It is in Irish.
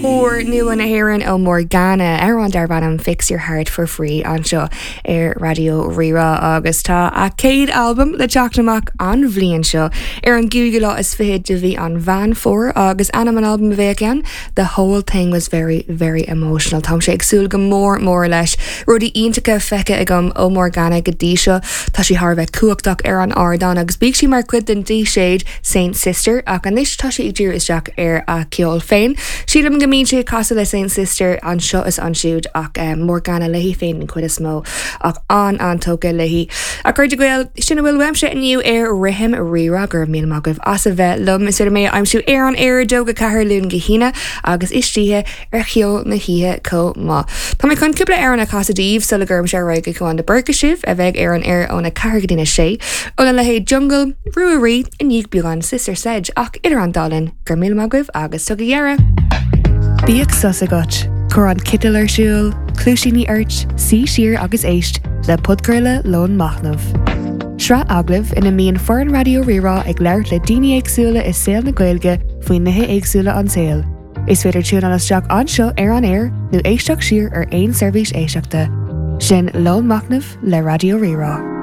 Úr nua na hÉireann ó Morgana, amhrán darb ainm Fix Your Heart For Free anseo ar Raidió Rí-Rá agus tá a céad albam le teacht amach an bhliain seo ar an gcúigiú lá is fichead de mhí an Mheán Fómhair agus ainm an albaim a bheidh ann The Whole Thing Was Very Very Emotional. Táimse ag súil go mór mór leis. Rudaí iontacha feicthe agam ó Morgana go dtí seo. Tá sí thar a bheith cumhachtach ar an ardán agus bíodh sí mar chuid den díséad Saint Sister ach anois tá sí ag díriú isteach ar a ceol féin. Sílim go mbíonn sí ag casadh le Saint Sister anseo is ansiúd ach Morgana léi féin den chuid is mó ach an-an-tógtha léi. A chairde Gael, sin a bhfuil uaimse inniu ar Rithim Rí-Rá. Go raibh míle maith agaibh as a bheith liom. Is féidir mé a aimsiú ar an aer 2 go 4 Luan go hAoine agus istoíche ar Cheol na hOíche chomh maith. Tá mé chun cúpla amhrán a chasadh daoibh sula gcuirimse ar aghaidh go Cuán de Búrca sibh, a bheidh ar an aer óna 4 go dtína 6. Óna leithéid Jungle, Rua Rí, i ndiaidh beagán Sister Sledge, ach idir an dá linn, go raibh míle maith agaibh agus tugaigí aire! Bíodh sos agat, cuir an citeal ar siúl, cluaisíní ort, suigh siar agus éist le podchraoladh Lón Machnaimh. Sraith agallamh ina mbíonn foireann Raidió Rí-Rá ag labhairt le daoine éagsúla i saol na Gaeilge faoi nithe éagsúla an tsaoil. Is féidir tiúnáil isteach anseo ar an aer nó éisteacht siar ar aon seirbhís éisteachta. Sin Lón Machnaimh le Raidió Rí-Rá.